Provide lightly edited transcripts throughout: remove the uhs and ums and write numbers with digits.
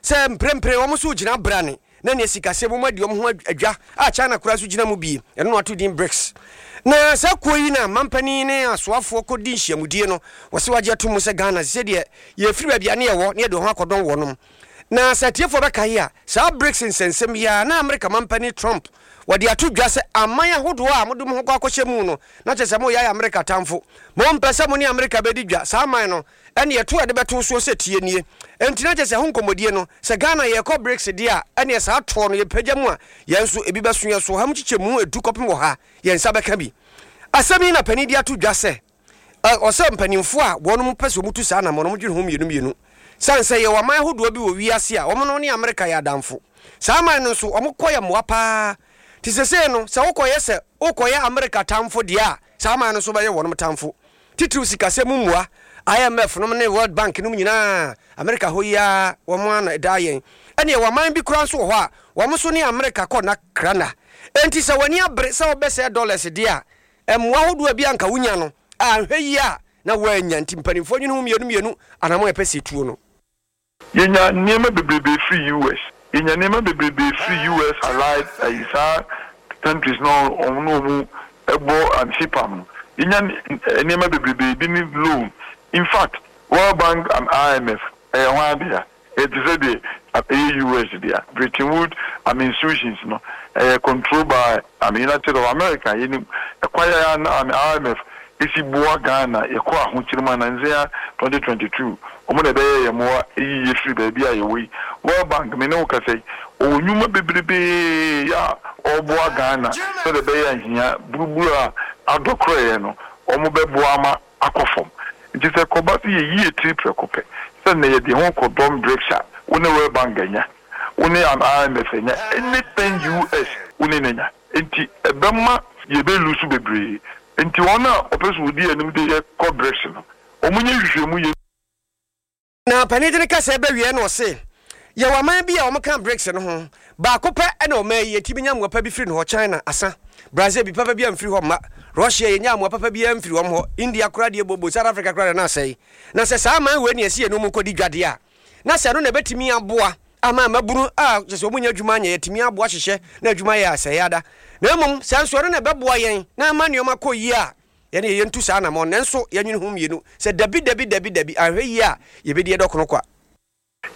sɛ mprempren wɔn nso gyina brane na nea sikasɛm mu adi wɔn ho adwa a China koraa nso gyina mu bi, ɛno na wɔato din BRICS. Na saa kuo yi na mampanin ne asoafoɔ kɔdi nhyiamudie no, wɔse wɔagye ato mu sɛ Ghana sɛ deɛ yɛfiri baabi a ne yɛwɔ ne yɛde wɔn ho akɔdɔn wɔnom. Na sɛ atiefoɔ bɛkae a, saa BRICS nsɛnsɛm yi ara na Amerika mampanin Trump wɔde ato dwa sɛ aman ahodoɔ a mode mo ho kɔ akɔhyɛ mu no, na kyerɛ sɛ moyɛ ayɛ Amerika atamfo. Mompɛ sɛ mo ne Amerika bɛdi dwa, saa aman no, ɛne ɛto a ɛde bɛto soɔ sɛ tie nie. Enti na kyerɛ sɛ ɛho nkɔmmɔdie no, sɛ Ghana yɛrekɔ BRICS deɛ a, ɛneɛ saa toɔ no yɛpagya mu a, yɛn nso ebi bɛso yɛn so, ɔha mu kyekyɛmu edu kɔpem ɔha, yɛn nsa bɛka bi. Asɛm yi na panin de ato dwa sɛ, ɔsɛ mpanimfoɔ a wɔnom pɛ sɛ wɔtu saa anammɔn no, wɔdwene ho mmienu mmienu. Sane sɛ yɛwɔ aman ahodoɔ bi wɔ wiase a wɔn ne Amerika yɛ adamfo. Saa aman no nso, wɔkɔ yɛ mmoa paa. Nti sesei no, sɛ wokɔyɛ sɛ wokɔyɛ Amerika tamfo deɛ a, saa aman no nso bɛyɛ wɔnom tamfo. Titiriw sikasɛm mu mmoa, IMF nom ne World Bank nom nyinaa, Amerika hɔ yi ara wɔn ara na ɛdaa yɛn. Ɛne yɛwɔ aman bi koraa nso wɔ hɔ a, wɔn nso ne Amerika kɔ nna kra nna. Enti sɛ w'ani abere sɛ wobɛsɛe dollars deɛ a, mmoa ahodoɔ a bi a anka wonya no, anhwɛ yie a na woannya. Nti mpanimfoɔ nwene ho mmienu mmienu anammɔn a ɛpɛ sɛ ɛtuo no. Yɛnya nneɛma bebrebe firi US. Yɛnya nneɛma bebrebe firi US allied ayi saa countries no a wɔn ne wɔn bɔ CPAM no. Yɛnya nneɛma bebrebe, ebi ne loan. In fact, World Bank and IMF ɛyɛ hwan dea? Ɛyɛ te sɛ deɛ ɛyɛ US dea. Bretton Woods institutions no ɛyɛ controlled by United States of America. Yɛnim ɛkwan a IMF esi boa Ghana yɛkɔ ahokyere mu a nansa yi ara 2022 wɔn na ɛbɛyɛ yɛn mmoa eyi yɛ firi baabi a yɛwɔ yi. World Bank me ne wo kasa yi ɔwɔ nnwuma bebrebee a ɔreboa Ghana sɛdeɛ ɛbɛyɛ a hia buruburu a adɔ korɔeɛ no wɔn bɛboa ama akɔ fam. Nti sɛ ɛkɔba sɛ yɛyi yɛ tiri prɛko pɛ sɛ nnɛ yɛde yɛn ho kɔdɔm BRICS a wo ne World Bank anya, wo ne IMF anya, anything US wo ne no anya. Enti ɛbɛma yɛbɛ lose bebree. Enti wɔn a wɔpɛ sɛ wɔdi yɛn anim de yɛ kɔ BRICS no, wɔnyɛ nhwehwɛmu yie. Na panin de ne kasa bɛwieɛ no ɔse, Yɛwɔ aman bi a wɔka BRICS no ho, baako pɛ na ɔman yi yɛtumi nya mmoa pa bi firi ne hɔ, China, asa, Brazil bi papa biara mfiri hɔ mma, Russia yɛnyaa mmoa papa biara mfiri wɔn hɔ, India koraa deɛ bobo, South Africa koraa deɛ na asɛe. Na sɛ saa aman wei na yɛse yɛne wɔn kɔdi dwa deɛ a, na sɛ ɛno na ɛbɛtumi aboa ama mmabunu a kyerɛ sɛ wɔnnya adwuma nyɛ, yɛatumi aboa hyehyɛ na adwuma yɛ asɛe ada. Na mmom sɛ nso ɛno na ɛbɛboa yɛn na ama nneɛma kɔ yie a, yɛne yɛntu saa anammɔn. Nanso yɛnwene ho mmienu sɛ dabi, dabi, dabi, dabi, anhwɛ yie a yɛbɛdi ɛdɔkono kwa.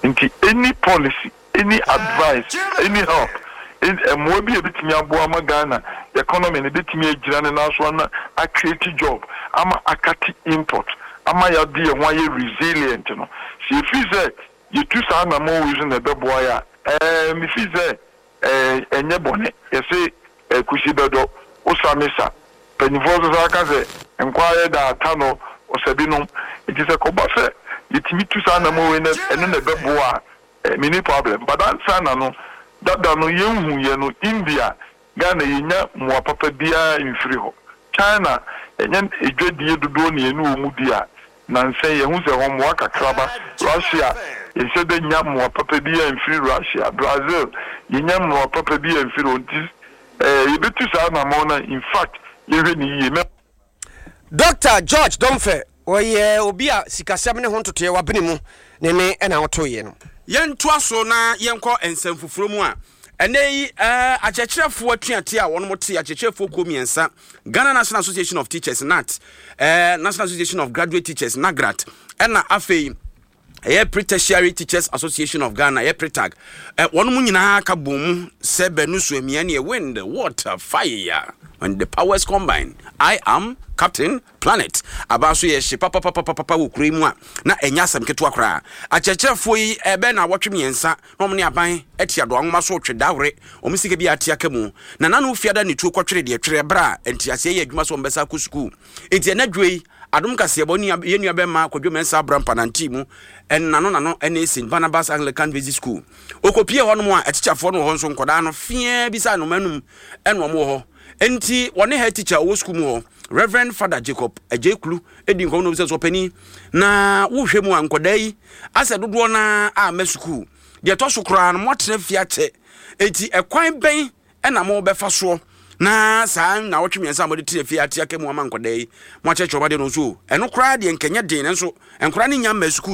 Nti any policy, any advice, any help, mmoa bi a ɛbɛtumi aboa ama Ghana economy no bɛtumi agyina ne nan so ana a create job ama akate import ama yɛade yɛn ho ayɛ resilient no, sɛ yɛfiri sɛ yɛtu saa anammɔn wei so na ɛbɛboa yɛn a, ɛɛ mefiri sɛ ɛɛ ɛnyɛ bɔne. Yɛse ɛɛ kusi bɛdɔ, wo sa me sa. Mpanyinfoɔ nso saa ka sɛ nkwa ayɛ da ata no ɔsa binom. Nti sɛ kɔba sɛ yɛtumi tu saa anammɔn wei na ɛno na ɛbɛboa a, Eh menni problem but ansa na no dada no yɛnhu yɛ no India Ghana yɛnya mmoa papa biara mfiri hɔ China ɛnyɛ adwadie dodoɔ na yɛne wɔn di a nansa yi yɛhu sɛ hɔ mmoa kakra ba Russia yɛnhyɛ da nnya mmoa papa biara mfiri Russia Brazil yɛnya mmoa papa biara mfiri hɔ nti eh yɛbɛtu saa anamɔn no a infact yɛnhwɛ no yie mɛ. Dɔkta George Domfeh, ɔyɛ obi a sikasɛm ne ho ntotoeɛ wabene mu ne ne na ɔtoeɛ no. Yɛntoa so na yɛnkɔ nsɛm foforɔ mu a, ɛnnɛ yi akyerɛkyerɛfoɔ atuateɛ a wɔn te akyerɛkyerɛfoɔ kuo mmiɛnsa, Ghana National Association of Teachers, GNAT, National Association of Graduate Teachers, NAGRAT, ɛna afei ɛyɛ Pre-Tertiary Teachers Association of Ghana, ɛyɛ PRETAG, wɔn mu nyinaa ka bɔn mu sɛ bɛnu so amia neɛ wind, water, fire, when the powers combine, I am Captain Planet. Aba nso yɛ hye papapapapapa wɔ kuro yi mu a na ɛnyɛ asɛm ketewa koraa. Akyerɛkyerɛfoɔ yi ɛbɛn na awɔtwe mmiɛnsa na wɔn ne aban ati adoa nwoma so retwe dawere wɔn sika bi a ate aka mu. Na nanu fiada ne tuo kɔtwere deɛ twere ɛberɛ a nteaseɛ yɛ adwuma sɛ wɔn bɛsa akɔ sukuu. Enti ɛnɛ dwo yi Adom kaseɛbɔ nua yɛn nua bɛma Kwadwo Mensah Abrampa nantee mu nnano nano ne St. Barnabas Anglican Basic School. Ɔkɔpie hɔ nom a atikyafoɔ no wɔ hɔ nso nkɔdaa no feaa bi sɛ anoma anum ɛna wɔn wɔ hɔ. Enti wɔne head teacher ɔwɔ sukuu mu hɔ Reverend Father Jacob Adjei Klu di nkɔmmɔ na ɔbisa sɛ ɔpanin na wohwɛ mu a nkɔdaa yi asɛ dodoɔ no ara amma sukuu. Deɛ ɛtɔ so koraa no moatena fie akyɛ enti ɛkwan bɛn na mobɛfa soɔ na saa nnawɔtwe mmiɛnsa a mode tena fie ate aka mu ama nkwadaa yi, moakyerɛkyerɛ wɔn adeɛ no nso o, ɛno koraa deɛ nka ɛnyɛ den, nanso nkwadaa no nnya mmaa sukuu.